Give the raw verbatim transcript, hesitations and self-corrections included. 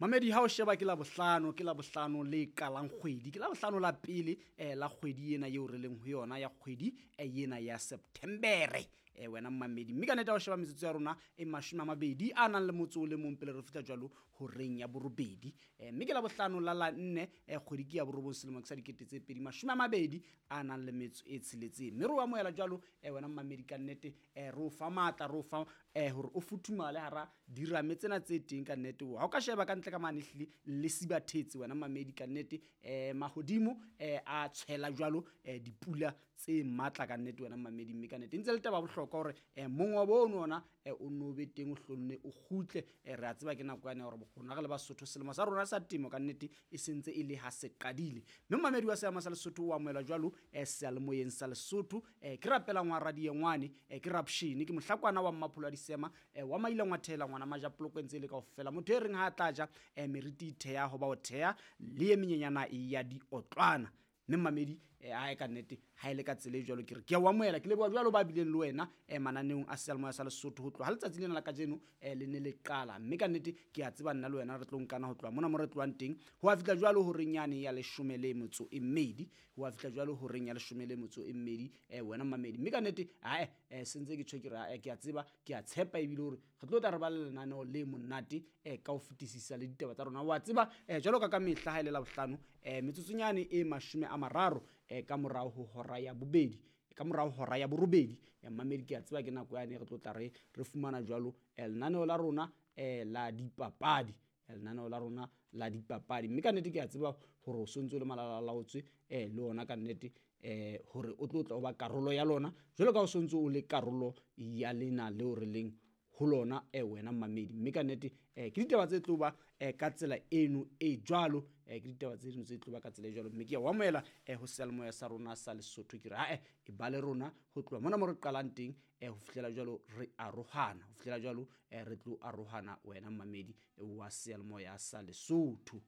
Mamedi ha o sheba ke la bohlano ke la bohlano le qalang kgwedi ke la bohlano la pele eh, la kgwedi ena eo re leng ho yona ya kgwedi eh, ena ya Septembere eh, wena mmamedi mme ka nnete ha o sheba metsotso ya rona e mashome a mabedi a nang le motso o le mong pele re fihla jwalo horeng ya borobedi eh, mme ke la bohlano la la nne eh, kgwedi ke ya borobong selemo ke sa dikete tse pedi mashome a mabedi a nang le metso e tsheletseng mme re o amohela jwalo eh, wena mmamedi ka nnete eh, re o fa matla re o fa eh, hore o futhumale hara dirame tsena tse teng ka nnete ha o ka sheba ka ntle ka mane ehlile le sibathetse wena mamedi ka nnete eh, mahodimo eh, a tshwela jwalo eh, dipula tse matla ka nnete wena mamedi mme ka nnete e ntse le taba bohlokwa hore eh, mongobo ono ona eh, o nno o be teng o hlonne o kgutle eh, re a tseba ke nako yane ya hore rona re le Basotho selemo sa rona sa temo ka nnete e sentse e le ha se qadile mme mamedi wa seama sa Lesotho o amohelwa jwalo eh, seyalemoyeng sa Lesotho eh, ke rapelang wa radiengwane eh, ke rapshene ke mohlakwana wa mmapholo wa disema eh, wa maila ngwathela ngwana majapoloko ntse e le kaofela motho e reng ha a tla ja eh, meriti e theha hoba o theha le e menyenyana ya diotlwana mme mmamedi eh, ae ka nnete ha e le ka tsela e jwalo ke re ke a o amohela ke leboha jwalo ba bileng le wena eh, mananeong a seyalemoya sa Lesotho ho tloha ha letsatsi lena la kajeno eh, le ne le qala mme ka nnete ke a tseba nna le wena re tlo nkana ho tloha mona mo re tlohang teng ho a fihla jwalo horeng yane ya leshome le metso e mmedi ho a fihla jwalo horeng ya leshome le metso e mmedi eh, wena mmamedi mme ka nnete ae eh, sentse ke tjho ke re ae ke a tseba ke a tshepa ebile hore re tlo tla re ba le lenaneo le monate eh, ka ho fetisisa le ditaba tsa rona wa tseba eh, jwalo ka ka mehla ha e le Labohlano eh, metsotsonyane e mashome a mararo eh, ka morao ho hora ya bobedi ka morao hora ya borobedi eh, mmamedi ke a tseba ke nako yane re tlo tla re re fumana jwalo eh, lenaneo la rona eh, la dipapadi eh, lenaneo la rona la dipapadi mme ka nnete ke a tseba hore o sontse o le malalalaotswe eh, le ona ka nnete eh, hore o tlo tla o ba karolo ya lona jwalo ka o sontse o le karolo ya lena leo re leng ho lona eh, wena mmamedi mme ka nnete eh, ke ditaba tse tlo ba eh, ka tsela eno e jwalo eh, ke ditaba tse dino tse tlo ba ka tsela e jwalo mme ke a o amohela eh, ho seyalemoya sa rona sa Lesotho ke re ae e ba le rona ho tloha mona mo re qalang teng eh, ho fihlela jwalo re arohana ho fihlela jwalo eh, re tlo arohana wena mmamedi wa seyalemoya sa Lesotho.